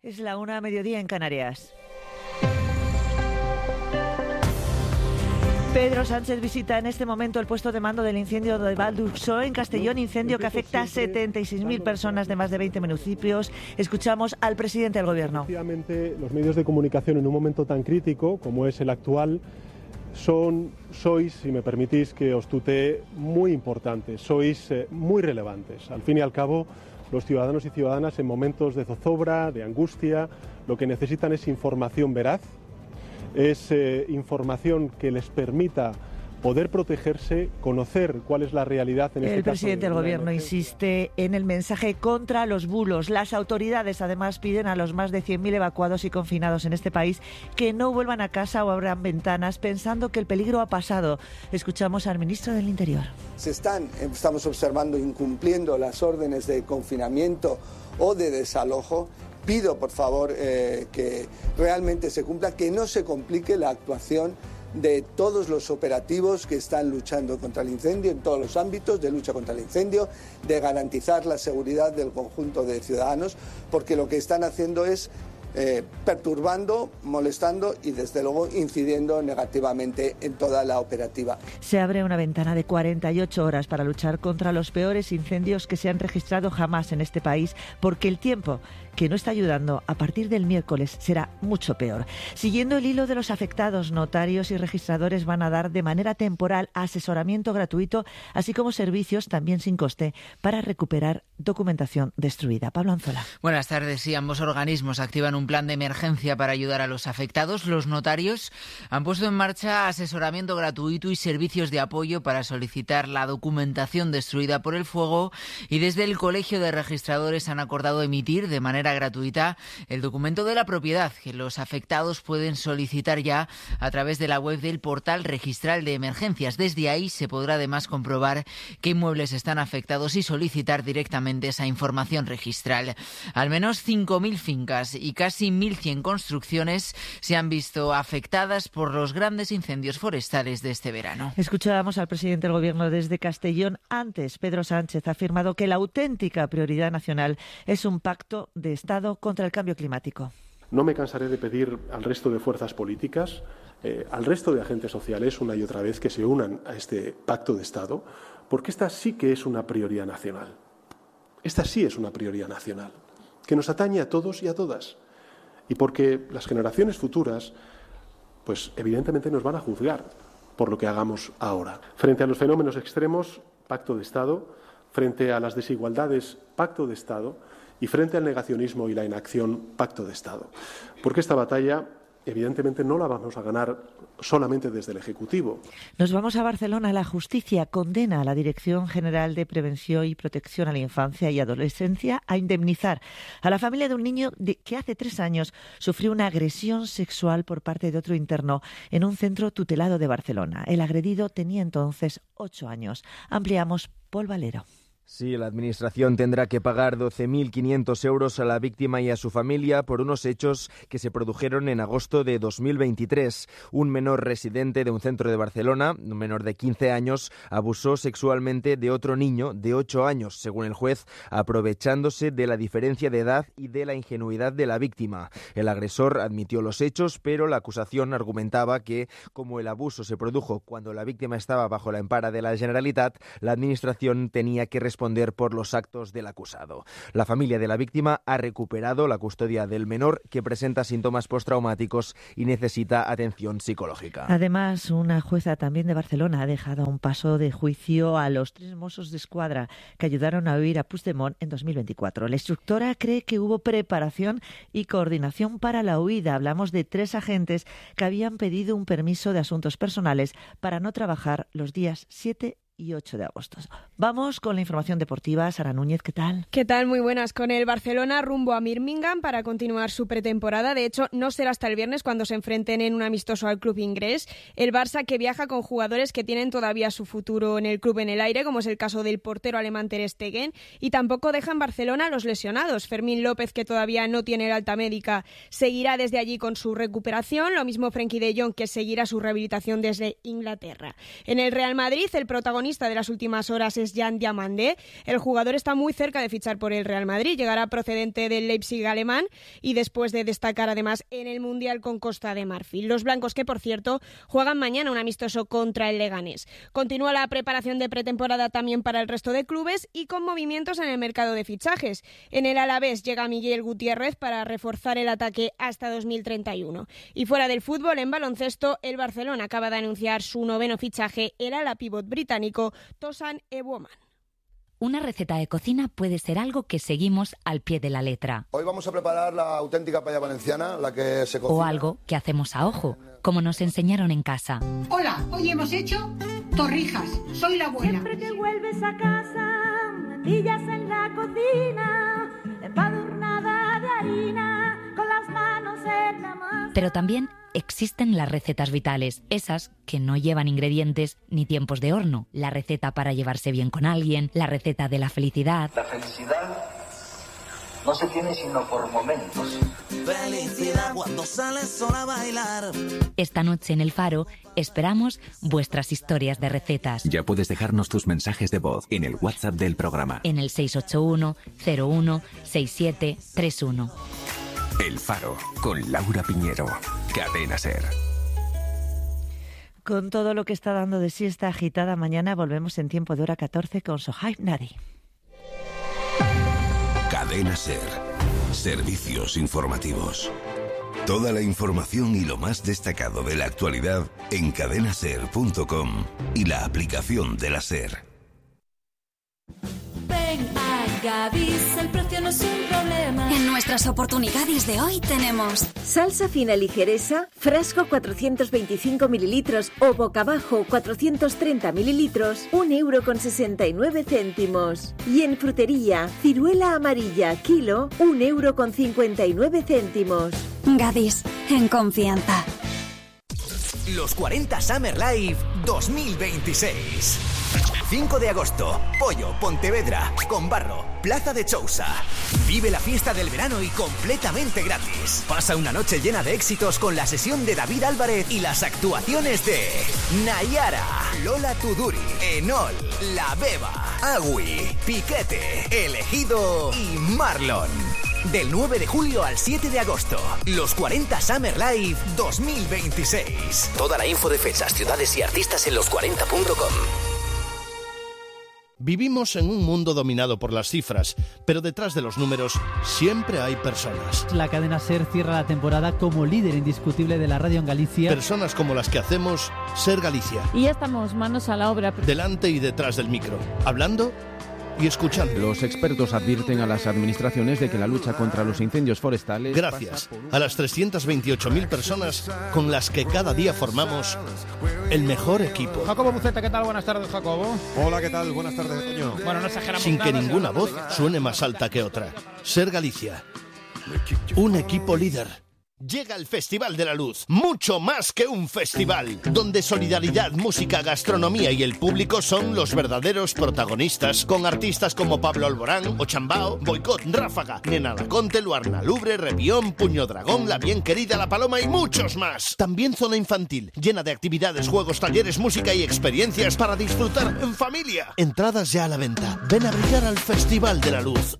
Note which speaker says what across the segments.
Speaker 1: Es la 1:00 en Canarias. Pedro Sánchez visita en este momento el puesto de mando del incendio de Val d'Ursó en Castellón, incendio que afecta a 76.000 personas de más de 20 municipios. Escuchamos al presidente del Gobierno.
Speaker 2: Efectivamente, los medios de comunicación en un momento tan crítico como es el actual sois, si me permitís que os tutee, muy importantes, sois muy relevantes. Al fin y al cabo, los ciudadanos y ciudadanas en momentos de zozobra, de angustia, lo que necesitan es información veraz, es información que les permita poder protegerse, conocer cuál es la realidad en este caso.
Speaker 1: El presidente del Gobierno insiste en el mensaje contra los bulos. Las autoridades además piden a los más de 100.000 evacuados y confinados en este país que no vuelvan a casa o abran ventanas pensando que el peligro ha pasado. Escuchamos al ministro del Interior.
Speaker 3: Estamos observando incumpliendo las órdenes de confinamiento o de desalojo. Pido, por favor, que realmente se cumpla, que no se complique la actuación de todos los operativos que están luchando contra el incendio en todos los ámbitos de lucha contra el incendio, de garantizar la seguridad del conjunto de ciudadanos, porque lo que están haciendo es perturbando, molestando y desde luego incidiendo negativamente en toda la operativa.
Speaker 1: Se abre una ventana de 48 horas para luchar contra los peores incendios que se han registrado jamás en este país, porque el tiempo que no está ayudando a partir del miércoles será mucho peor. Siguiendo el hilo de los afectados, notarios y registradores van a dar de manera temporal asesoramiento gratuito, así como servicios también sin coste para recuperar documentación destruida. Pablo Anzola.
Speaker 4: Buenas tardes. Sí, ambos organismos activan un plan de emergencia para ayudar a los afectados. Los notarios han puesto en marcha asesoramiento gratuito y servicios de apoyo para solicitar la documentación destruida por el fuego, y desde el Colegio de Registradores han acordado emitir de manera gratuita el documento de la propiedad que los afectados pueden solicitar ya a través de la web del portal registral de emergencias. Desde ahí se podrá además comprobar qué inmuebles están afectados y solicitar directamente esa información registral. Al menos 5.000 fincas y casi 1.100 construcciones se han visto afectadas por los grandes incendios forestales de este verano.
Speaker 1: Escuchábamos al presidente del Gobierno desde Castellón. Antes, Pedro Sánchez ha afirmado que la auténtica prioridad nacional es un pacto de Estado contra el cambio climático.
Speaker 2: No me cansaré de pedir al resto de fuerzas políticas, al resto de agentes sociales, una y otra vez, que se unan a este pacto de Estado, porque esta sí que es una prioridad nacional. Esta sí es una prioridad nacional, que nos atañe a todos y a todas. Y porque las generaciones futuras, pues evidentemente nos van a juzgar por lo que hagamos ahora. Frente a los fenómenos extremos, pacto de Estado. Frente a las desigualdades, pacto de Estado. Y frente al negacionismo y la inacción, pacto de Estado. Porque esta batalla, evidentemente, no la vamos a ganar solamente desde el Ejecutivo.
Speaker 1: Nos vamos a Barcelona. La justicia condena a la Dirección General de Prevención y Protección a la Infancia y Adolescencia a indemnizar a la familia de un niño que hace 3 años sufrió una agresión sexual por parte de otro interno en un centro tutelado de Barcelona. El agredido tenía entonces 8 años. Ampliamos, Pol Valero.
Speaker 5: Sí, la Administración tendrá que pagar 12.500 euros a la víctima y a su familia por unos hechos que se produjeron en agosto de 2023. Un menor residente de un centro de Barcelona, un menor de 15 años, abusó sexualmente de otro niño de 8 años, según el juez, aprovechándose de la diferencia de edad y de la ingenuidad de la víctima. El agresor admitió los hechos, pero la acusación argumentaba que, como el abuso se produjo cuando la víctima estaba bajo la empara de la Generalitat, la Administración tenía que responder por los actos del acusado. La familia de la víctima ha recuperado la custodia del menor, que presenta síntomas postraumáticos y necesita atención psicológica.
Speaker 1: Además, una jueza también de Barcelona ha dejado a un paso de juicio a los 3 Mossos d'Esquadra que ayudaron a huir a Puigdemont en 2024. La instructora cree que hubo preparación y coordinación para la huida. Hablamos de 3 agentes que habían pedido un permiso de asuntos personales para no trabajar los días 7 y 8 de agosto. Vamos con la información deportiva. Sara Núñez, ¿qué tal?
Speaker 6: ¿Qué tal? Muy buenas. Con el Barcelona rumbo a Birmingham para continuar su pretemporada. De hecho, no será hasta el viernes cuando se enfrenten en un amistoso al club inglés. El Barça, que viaja con jugadores que tienen todavía su futuro en el club en el aire, como es el caso del portero alemán Ter Stegen, y tampoco deja en Barcelona a los lesionados. Fermín López, que todavía no tiene el alta médica, seguirá desde allí con su recuperación. Lo mismo Frenkie de Jong, que seguirá su rehabilitación desde Inglaterra. En el Real Madrid, el protagonista protagonista de las últimas horas es Jan Diamandé. El jugador está muy cerca de fichar por el Real Madrid, llegará procedente del Leipzig alemán y después de destacar además en el Mundial con Costa de Marfil. Los blancos, que por cierto juegan mañana un amistoso contra el Leganés. Continúa la preparación de pretemporada también para el resto de clubes y con movimientos en el mercado de fichajes. En el Alavés llega Miguel Gutiérrez para reforzar el ataque hasta 2031. Y fuera del fútbol, en baloncesto, el Barcelona acaba de anunciar su 9º fichaje, el ala pívot británico Tosan Eboman.
Speaker 7: Una receta de cocina puede ser algo que seguimos al pie de la letra.
Speaker 8: Hoy vamos a preparar la auténtica paella valenciana, la que se cocina.
Speaker 7: O algo que hacemos a ojo, como nos enseñaron en casa.
Speaker 9: Hola, hoy hemos hecho torrijas. Soy la abuela.
Speaker 10: Siempre que vuelves a casa, me pillas en la cocina, empadurnada de harina, con las manos en la masa.
Speaker 7: Pero también existen las recetas vitales, esas que no llevan ingredientes ni tiempos de horno. La receta para llevarse bien con alguien, la receta de la felicidad.
Speaker 11: La felicidad no se tiene sino por momentos.
Speaker 12: Felicidad cuando sales sola a bailar.
Speaker 7: Esta noche en El Faro esperamos vuestras historias de recetas.
Speaker 13: Ya puedes dejarnos tus mensajes de voz en el WhatsApp del programa.
Speaker 7: En el 681 01 6731.
Speaker 13: El Faro, con Laura Piñero. Cadena SER.
Speaker 1: Con todo lo que está dando de sí esta agitada mañana, volvemos en tiempo de hora 14 con Sohaib Nadi.
Speaker 14: Cadena SER. Servicios informativos. Toda la información y lo más destacado de la actualidad en cadenaser.com y la aplicación de la SER.
Speaker 15: Ven a Gadis, el precio no es un problema.
Speaker 16: En nuestras oportunidades de hoy tenemos
Speaker 17: salsa fina ligeresa, frasco 425 mililitros o boca abajo 430 mililitros, €1,69. Y en frutería, ciruela amarilla, kilo, €1,59.
Speaker 16: Gadis, en confianza.
Speaker 18: Los 40 Summer Live 2026. 5 de agosto, Pollo, Pontevedra, Combarro, Plaza de Chousa. Vive la fiesta del verano y completamente gratis. Pasa una noche llena de éxitos con la sesión de David Álvarez y las actuaciones de Nayara, Lola Tuduri, Enol, La Beba, Agui, Piquete, Elegido y Marlon. Del 9 de julio al 7 de agosto, los 40 Summer Live 2026. Toda la info de fechas, ciudades y artistas en los40.com.
Speaker 19: Vivimos en un mundo dominado por las cifras, pero detrás de los números siempre hay personas.
Speaker 20: La cadena SER cierra la temporada como líder indiscutible de la radio en Galicia.
Speaker 19: Personas como las que hacemos SER Galicia.
Speaker 21: Y ya estamos manos a la obra.
Speaker 19: Delante y detrás del micro, hablando y escuchando.
Speaker 22: Los expertos advierten a las administraciones de que la lucha contra los incendios forestales...
Speaker 19: Gracias a las 328.000 personas con las que cada día formamos el mejor equipo.
Speaker 23: Jacobo Buceta, ¿qué tal? Buenas tardes, Jacobo.
Speaker 24: Hola, ¿qué tal? Buenas tardes, Toño.
Speaker 23: Bueno, no exageramos
Speaker 19: sin
Speaker 23: nada,
Speaker 19: que ninguna voz suene más alta que otra. SER Galicia. Un equipo líder. Llega el Festival de la Luz, mucho más que un festival, donde solidaridad, música, gastronomía y el público son los verdaderos protagonistas, con artistas como Pablo Alborán, Ochambao, Boicot, Ráfaga, Nena Laconte, Luarna Lubre, Revión, Puño Dragón, La Bien Querida, La Paloma y muchos más. También zona infantil, llena de actividades, juegos, talleres, música y experiencias para disfrutar en familia. Entradas ya a la venta. Ven a brillar al Festival de la Luz.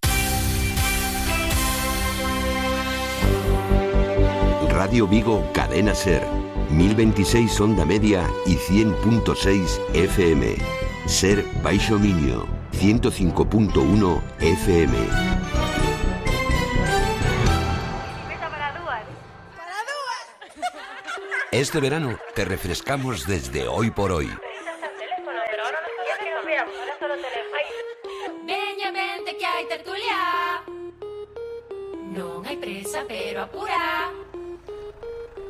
Speaker 14: Radio Vigo, Cadena SER, 1026 onda media y 100.6 FM. SER Baixo Miño, 105.1 FM. Este verano te refrescamos desde hoy por hoy.
Speaker 15: Veña, vente que hai tertulia. Non hai presa, pero apura.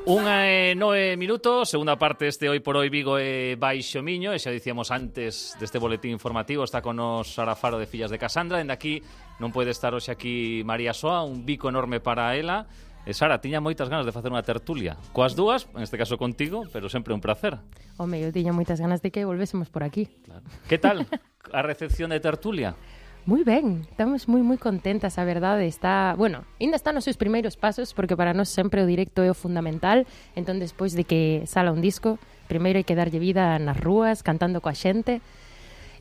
Speaker 25: 1:09 minutos, segunda parte deste Hoy por Hoy Vigo e Baixo Miño, e xa dicíamos antes deste boletín informativo, está con nos Sara Faro de Fillas de Casandra, dende aquí non pode estar hoxe aquí María Soa, un bico enorme para ela. E Sara, tiña moitas ganas de facer unha tertulia coas dúas, en este caso contigo, pero sempre un placer.
Speaker 21: Home, eu tiña moitas ganas de que volvésemos por aquí.
Speaker 25: Claro. Que tal a recepción de tertulia?
Speaker 21: Moi ben, estamos moi contentas, a verdade. Está, bueno, ainda está nos seus primeiros pasos, porque para nós sempre o directo é o fundamental. Entón, despois de que sala un disco, primeiro hai que darlle vida nas rúas, cantando coa xente.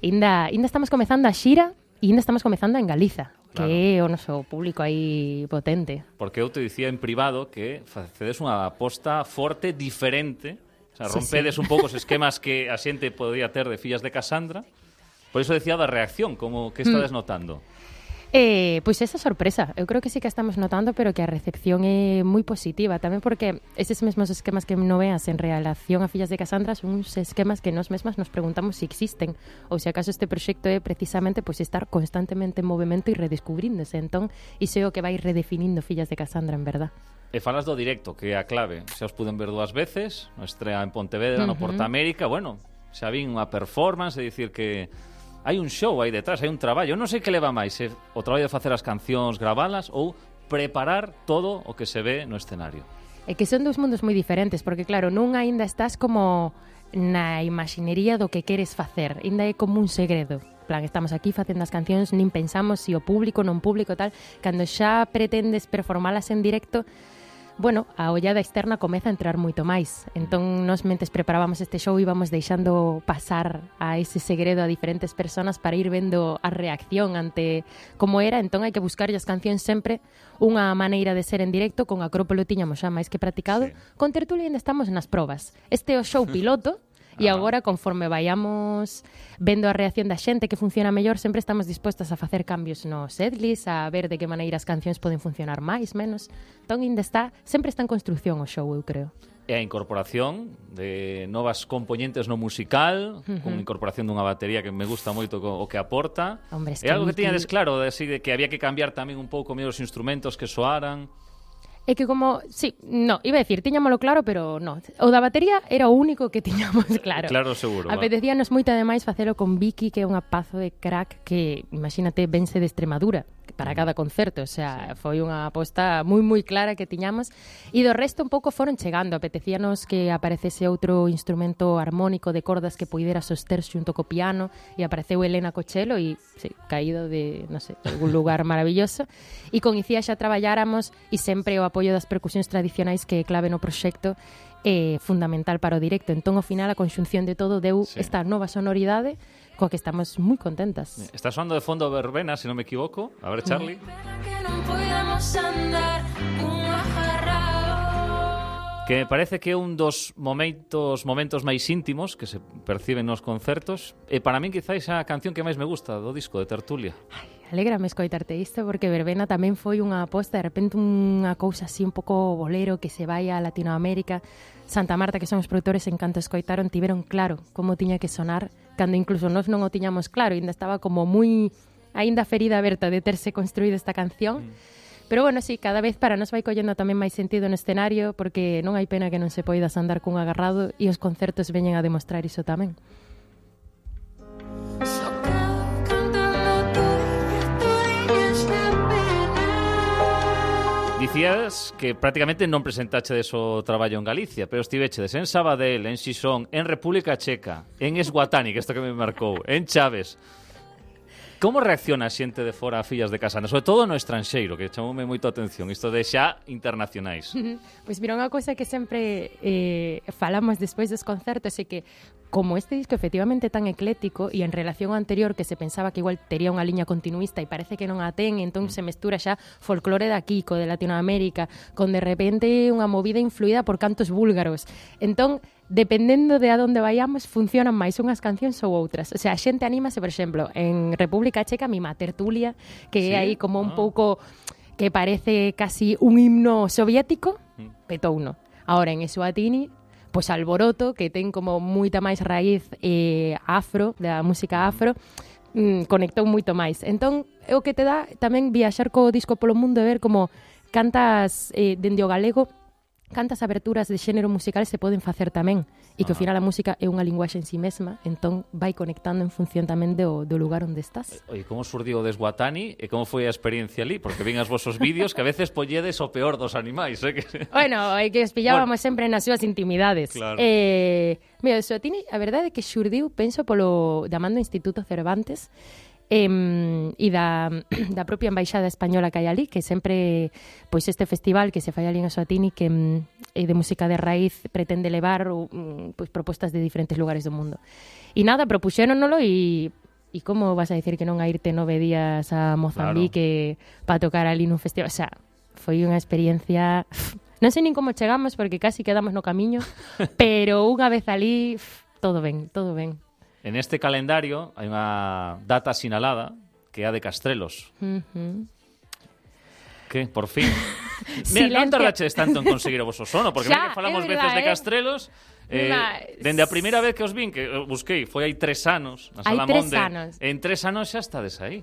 Speaker 21: Ainda estamos comezando a xira e ainda estamos comezando en Galiza, claro, que é o noso público aí potente.
Speaker 25: Porque eu te dicía en privado que facedes unha aposta forte, diferente, o sea, rompedes un pouco os esquemas que a xente podía ter de Fillas de Casandra. Por iso decía da reacción, como que estades notando?
Speaker 21: Pois esa sorpresa, eu creo que sí que estamos notando, pero que a recepción é moi positiva, tamén porque eses mesmos esquemas que non veas en relación a Fillas de Casandra son uns esquemas que nós mesmas nos preguntamos se existen, ou se acaso este proxecto é precisamente pois estar constantemente en movimento e redescubríndose, entón iso é o que vai redefinindo Fillas de Casandra, en verdad.
Speaker 25: E falas do directo, que é a clave, xa os puden ver 2 veces, no estrea en Pontevedra, no Porta América, bueno, xa vin unha performance, é dicir que hai un show aí detrás, hai un traballo. Eu non sei que leva máis, o traballo de facer as cancións, gravalas ou preparar todo o que se ve no escenario.
Speaker 21: É que son 2 mundos moi diferentes, porque claro, non aínda estás como na imaxinería do que queres facer, aínda é como un segredo. Plan, estamos aquí facendo as cancións, nin pensamos se o público, non público, tal. Cando xa pretendes performalas en directo, bueno, a ollada externa comeza a entrar moito máis. Entón, nos mentes preparábamos este show íbamos deixando pasar a ese segredo a diferentes personas para ir vendo a reacción ante como era. Entón, hai que buscar as cancións sempre unha maneira de ser en directo. Con Acrópolo tiñamos xa máis que practicado. Con Tertulia ainda estamos nas probas. Este é o show piloto. E agora, conforme vayamos vendo a reacción da xente que funciona mellor, sempre estamos dispostas a facer cambios no setlist, a ver de que maneira as cancións poden funcionar máis, menos. Entón, sempre está en construcción o show, eu creo.
Speaker 25: E a incorporación de novas componentes no musical, con incorporación dunha batería que me gusta moito o que aporta.
Speaker 21: Hombre,
Speaker 25: é algo que tiñades claro, de que había que cambiar tamén un pouco medio os instrumentos que soaran.
Speaker 21: É que como, sí, no, iba a decir, tiñámolo claro, pero no. O da batería era o único que tiñamos claro.
Speaker 25: Claro, seguro.
Speaker 21: Apetecíanos moito ademais facelo con Vicky, que é unha pazo de crack que, imagínate, vense de Extremadura para cada concerto, o sea, foi unha aposta moi moi clara que tiñamos, e do resto un pouco foron chegando. Apetecíanos que aparecese outro instrumento armónico de cordas que puidera soster xunto co piano, e apareceu Elena Cochelo e, sí, caído de, non sei, algún lugar maravilloso. E con Icía xa traballáramos e sempre o apoio das percusións tradicionais, que é clave no proxecto, é fundamental para o directo. Entón, ao final, a conxunción de todo deu esta nova sonoridade coa que estamos moi contentas.
Speaker 25: Está soando de fondo Verbena, se non me equivoco. A ver, Charlie. Que me parece que é un dos momentos máis íntimos que se perciben nos concertos, e para min quizáis a canción que máis me gusta do disco de Tertulia.
Speaker 21: Alégrame escoitarte isto, porque Verbena tamén foi unha aposta, de repente unha cousa así un pouco bolero que se vai a Latinoamérica. Santa Marta, que son os produtores, en canto escoitaron, tiveron claro como tiña que sonar, cando incluso nós non o tiñamos claro, ainda estaba como moi aínda ferida aberta de terse construído esta canción. Pero bueno, sí, cada vez para nos vai collendo tamén máis sentido no escenario, porque non hai pena que non se poidas andar cun agarrado, e os concertos veñen a demostrar iso tamén.
Speaker 25: Dicías que prácticamente non presentachedes o traballo en Galicia, pero estivechedes en Sabadell, en Xixón, en República Checa, en Esguatani, que isto que me marcou, en Chaves. Como reacciona a xente de fora a Fillas de Casandra? Sobre todo no estranxeiro, que chamoume moito a atención, isto de xa internacionais.
Speaker 21: Pois mira, unha cousa que sempre falamos despois dos concertos é que, como este disco efectivamente tan eclético, e en relación ao anterior que se pensaba que igual tería unha liña continuista e parece que non a ten, entón se mestura xa folclore de aquí, co de Latinoamérica, con de repente unha movida influída por cantos búlgaros. Entón, dependendo de a donde vayamos, funcionan máis unhas cancións ou outras. O sea, a xente anímase, por exemplo, en República Checa, mima Tertulia, que é aí como un pouco que parece casi un himno soviético, petouno. Ahora, en Eswatini, pois Alboroto, que ten como moita máis raíz afro, da música afro, conectou moito máis. Entón, é o que te dá tamén viaxar co disco polo mundo e ver como cantas dende o galego, cantas aberturas de xénero musical se poden facer tamén, e que ao final a música é unha linguaxe en si mesma, entón vai conectando en función tamén do lugar onde estás.
Speaker 25: Oye, como surdiu o Desguatani e como foi a experiencia ali? Porque ven as vosos vídeos que a veces polledes o peor dos animais, que...
Speaker 21: Bueno, é que os pillábamos sempre nas súas intimidades.
Speaker 25: Claro.
Speaker 21: Mira, o Desguatani, a verdade é que xurdiu, penso, polo damando Instituto Cervantes, e da propia embaixada española que hai ali, que sempre, pois este festival que se fai ali en Eswatini, que é de música de raíz, pretende levar pois propostas de diferentes lugares do mundo. E nada, propuxéronolo e E como vas a dicir que non a irte 9 días a Mozambique para tocar ali nun festival? O sea, foi unha experiencia... Non sei nin como chegamos porque casi quedamos no camiño, pero unha vez ali, todo ben, todo ben.
Speaker 25: En este calendario hai unha data sinalada que é a de Castrelos. Que, por fin. Mira, non tardaches tanto en conseguir o voso sono, porque xa, falamos veces de Castrelos. Dende a primeira vez que os vin, que busquei, foi hai 3 anos na Sala Monde. En 3 anos xa estades aí.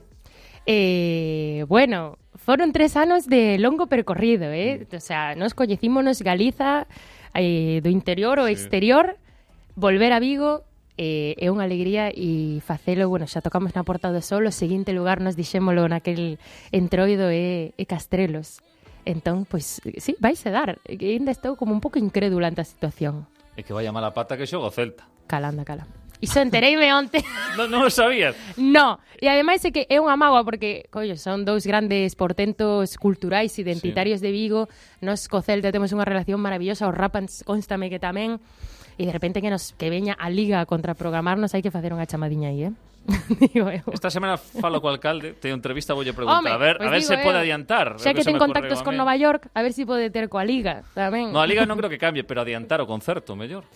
Speaker 21: Bueno, foron 3 anos de longo percorrido, O sea, nos coñecímonos Galiza, do interior ao exterior, volver a Vigo é unha alegría e facelo, bueno, xa tocamos na Porta do Sol, o seguinte lugar nos dixémolo naquel entroido é Castrelos. Entón, pois, sí, vaise dar. Ainda estou como un pouco incrédula ante a situación.
Speaker 25: É que vai a mala pata que xoga o Celta.
Speaker 21: Calanda. Iso entereime onte.
Speaker 25: Non o sabías?
Speaker 21: No, e ademais é que é unha mágoa porque, collo, son 2 grandes portentos culturais identitarios de Vigo. Nos co Celta temos unha relación maravillosa, os Rapans constame que tamén, e de repente que veña a Liga a contraprogramarnos, hai que facer unha chamadiña aí, Digo eu.
Speaker 25: Esta semana falo co alcalde, teño entrevista, voulle preguntar. A ver se pode adiantar.
Speaker 21: Xa que ten contactos con Nova York, a ver se pode ter coa Liga tamén.
Speaker 25: No, a Liga non creo que cambie, pero adiantar o concerto, mellor.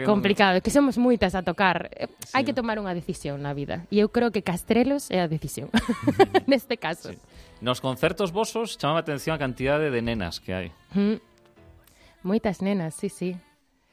Speaker 21: Complicado, é que somos moitas a tocar. Hai que tomar unha decisión na vida. E eu creo que Castrelos é a decisión. Neste caso.
Speaker 25: Nos concertos vosos chamaba a atención a cantidade de nenas que hai.
Speaker 21: Moitas nenas, sí.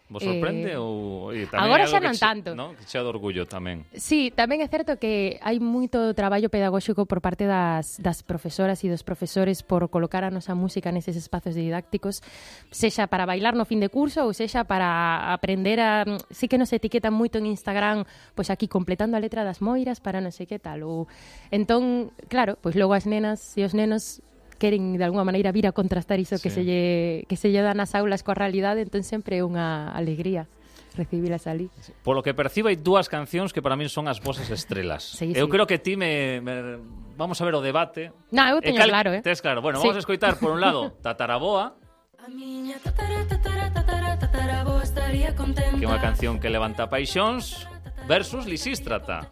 Speaker 25: Vos sorprende ou
Speaker 21: agora xa non tanto,
Speaker 25: ¿no? Que xa de orgullo tamén.
Speaker 21: Sí, tamén é certo que hai moito traballo pedagóxico por parte das profesoras e dos profesores por colocar a nosa música neses espazos didácticos, sexa para bailar no fin de curso ou sexa para aprender a... Sí que nos etiquetan moito en Instagram, pois aquí completando a letra das moiras para non sei que tal. Ou... Entón, claro, pois logo as nenas e os nenos queren de alguma maneira vir a contrastar iso que se lle dá nas aulas coa realidade, entón sempre é unha alegría recibilas ali.
Speaker 25: Polo que percibo hai dúas cancións que para min son as vosas estrelas. Eu creo que ti vamos a ver o debate.
Speaker 21: No, eu teño claro,
Speaker 25: Tes claro. Bueno, vamos a escoitar por un lado Tataraboa,
Speaker 15: a miña tataraboa estaría contenta,
Speaker 25: que é unha canción que levanta paixóns, versus Lisístrata.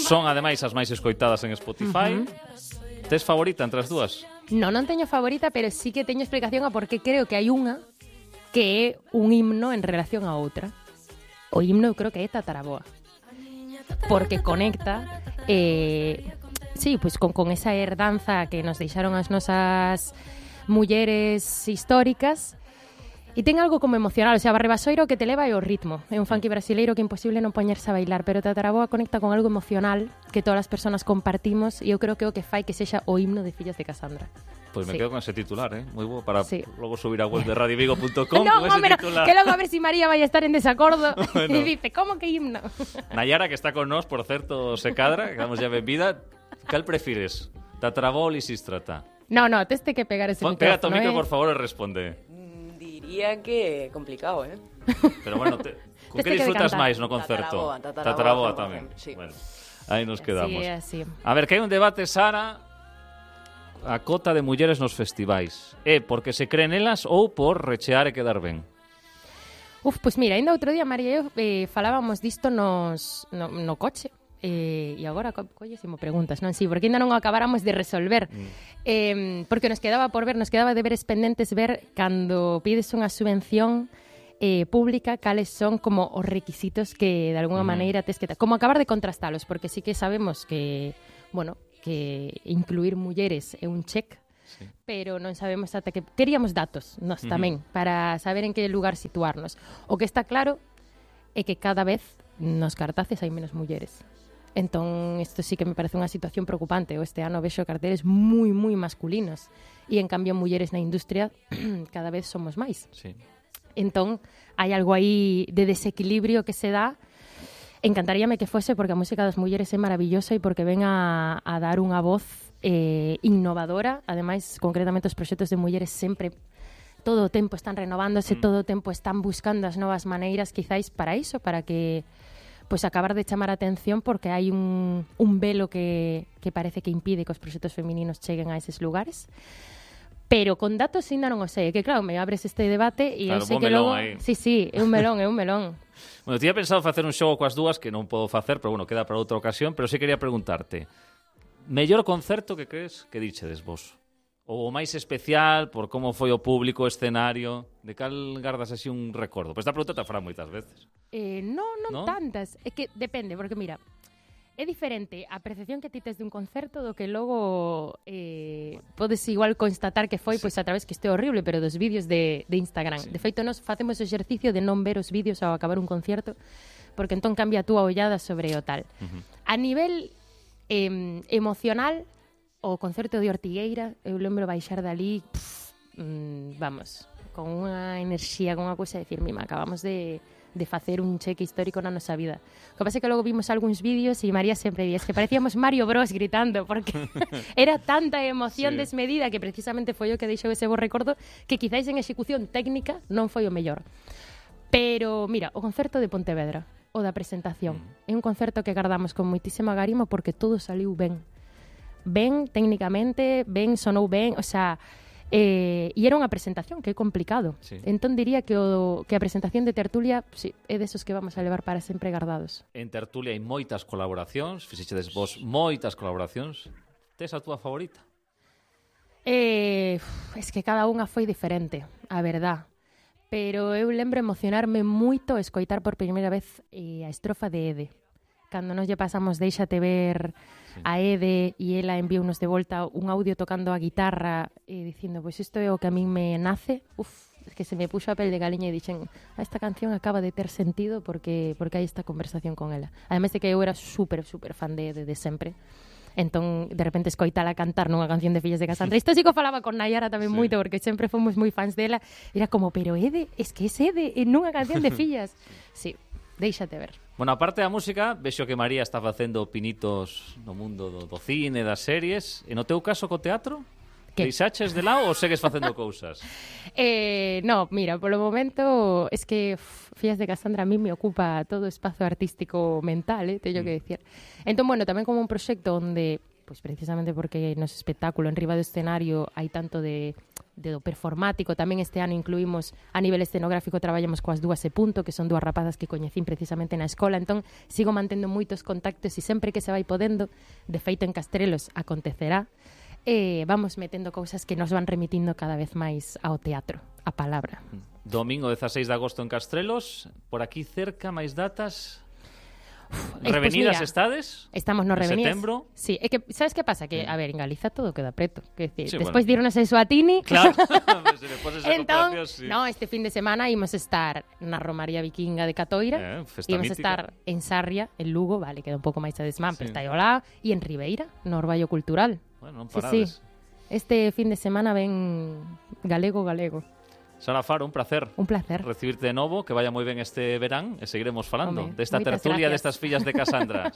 Speaker 25: Son ademais as máis escoitadas en Spotify. Tes favorita entre as dúas?
Speaker 21: Non teño favorita, pero sí que teño explicación a por que creo que hai unha que é un himno en relación a outra. O himno eu creo que é Tataraboa, porque conecta pois con esa herdanza que nos deixaron as nosas mulleres históricas. E ten algo como emocional, o sea, Barrebasoiro que te leva é o ritmo. É un funky brasileiro que é imposible non poñerse a bailar, pero Tataraboa conecta con algo emocional que todas as persoas compartimos e eu creo que é o que fai que sexa o himno de Fillas de Casandra.
Speaker 25: Pois me quedo con ese titular, moi bo para logo subir a web de radiovigo.com.
Speaker 21: No, hombre, que logo a ver si María vai a estar en desacordo e dice, como que himno?
Speaker 25: Nayara, que está con nós, por certo, se cadra, que damos ya benvida. Cal prefires? Tataraboa ou Lisístrata?
Speaker 21: No, tes que pegar ese micrófono.
Speaker 25: Pega tu micro, por favor, e responde.
Speaker 2: Diría que complicado,
Speaker 25: Pero bueno, con que disfrutas máis no concerto? Tataraboa tamén.
Speaker 2: Sí.
Speaker 25: Bueno, aí nos quedamos.
Speaker 21: Así.
Speaker 25: A ver, que hai un debate, Sara, a cota de mulleres nos festivais. É porque se creen elas ou por rechear e quedar ben?
Speaker 21: Pois mira, ainda outro día, María e eu falábamos disto no coche. E agora collesimo preguntas, non? Si, porque ainda non acabáramos de resolver. Porque nos quedaba deberes pendentes ver cando pides unha subvención pública cales son como os requisitos que de alguna maneira tes que como acabar de contrastalos, porque sí que sabemos que, bueno, que incluir mulleres é un check, pero non sabemos ata que queríamos datos nós tamén para saber en que lugar situarnos. O que está claro é que cada vez nos cartaces hai menos mulleres. Entón, isto sí que me parece unha situación preocupante. Este ano vexo carteles moi masculinos e, en cambio, mulleres na industria cada vez somos máis.
Speaker 25: Sí.
Speaker 21: Entón, hai algo aí de desequilibrio que se dá. Encantaríame que fose porque a música das mulleres é maravillosa e porque ven a dar unha voz innovadora. Ademais, concretamente, os proxectos de mulleres sempre todo o tempo están renovándose, todo o tempo están buscando as novas maneiras, quizáis para iso, para que pois acabar de chamar a atención, porque hai un velo que parece que impide que os proxectos femininos cheguen a eses lugares. Pero con datos ainda non o sei, que claro, me abres este debate e
Speaker 25: claro,
Speaker 21: eu sei que logo...
Speaker 25: aí.
Speaker 21: Sí, é un melón.
Speaker 25: Bueno, tiña pensado facer un xogo coas dúas que non podo facer, pero bueno, queda para outra ocasión, pero sí quería preguntarte. Mellor concerto que crees que dichedes vos? Ou o máis especial por como foi o público, o escenario? De cal gardas así un recordo? Pois esta pregunta te fará moitas veces.
Speaker 21: Non tantas. É que depende, porque mira, é diferente a percepción que ti tes dun concerto do que logo podes igual constatar que foi pois a través que este horrible, pero dos vídeos de Instagram. De feito, nos facemos o exercicio de non ver os vídeos ao acabar un concerto, porque entón cambia a túa ollada sobre o tal. A nivel emocional, o concerto de Ortigueira, eu lembro baixar dali, vamos, con unha enerxía, con unha cousa de decir, mima, acabamos de facer un cheque histórico na nosa vida. O que pasa é que logo vimos algúns vídeos e María sempre di, es que parecíamos Mario Bros gritando, porque era tanta emoción desmedida que precisamente foi o que deixou ese bo recordo, que quizáis en execución técnica non foi o mellor. Pero, mira, o concerto de Pontevedra, o da presentación, é un concerto que gardamos con moitísima garima porque todo saliu ben. Ben técnicamente, ben sonou ben, o sea... e era unha presentación que é complicado. Entón diría que a presentación de Tertulia é desos que vamos a levar para sempre gardados.
Speaker 25: En Tertulia hai moitas colaboracións, fixechedes vos moitas colaboracións. Tes a túa favorita?
Speaker 21: Es que cada unha foi diferente, a verdad. Pero eu lembro emocionarme moito escoitar por primeira vez a estrofa de Ede. Cando nos lle pasamos Déixate ver a Ede e ela enviounos de volta un audio tocando a guitarra e dicindo, pois isto é o que a min me nace, es que se me puxo a pel de galiña e dixen, esta canción acaba de ter sentido porque hai esta conversación con ela. Ademais de que eu era super fan de Ede de sempre. Entón, de repente, escoitala cantar nunha canción de Fillas de Casandra. Isto sí que falaba con Nayara tamén moito, porque sempre fomos moi fans dela. Era como, pero Ede, es que é Ede nunha canción de Fillas. Sí. Déixate ver.
Speaker 25: Bueno, aparte da música, vexo que María está facendo pinitos no mundo do cine, das series. E no teu caso co teatro? Deixaches de lado ou segues facendo cousas?
Speaker 21: No, mira, polo momento es que Fillas de Casandra a mí me ocupa todo o espazo artístico mental, teño que decir. Entón, bueno, tamén como un proxecto onde, pois precisamente porque nos espectáculo en riba do escenario hai tanto de performático, tamén este ano incluímos a nivel escenográfico, traballamos coas dúas e punto, que son dúas rapazas que coñecín precisamente na escola, entón sigo mantendo moitos contactos e sempre que se vai podendo, de feito en Castrelos acontecerá, vamos metendo cousas que nos van remitindo cada vez máis ao teatro, a palabra.
Speaker 25: Domingo 16 de agosto en Castrelos, por aquí cerca máis datas... Revenidas
Speaker 21: pues
Speaker 25: estades?
Speaker 21: Estamos no Revenidas.
Speaker 25: Setembro?
Speaker 21: Sí, é que sabes que pasa? Que, a ver, en Galiza todo queda preto. Que decir,
Speaker 25: sí,
Speaker 21: despois
Speaker 25: bueno.
Speaker 21: de irnos a Suatini...
Speaker 25: Claro, entón,
Speaker 21: sí. No, este fin de semana ímos estar na Romaría Vikinga de Catoira, ímos estar en Sarria, en Lugo, vale, queda un pouco máis a desmán, pero está aí ao lado, e en Ribeira, no Orballo Cultural.
Speaker 25: Bueno, non parades.
Speaker 21: Sí. Este fin de semana ven galego.
Speaker 25: Sara Faro, un placer.
Speaker 21: Un placer.
Speaker 25: Recibirte de novo, que vaya moi ben este verán e seguiremos falando
Speaker 21: Home,
Speaker 25: desta tertulia destas Fillas de Casandra.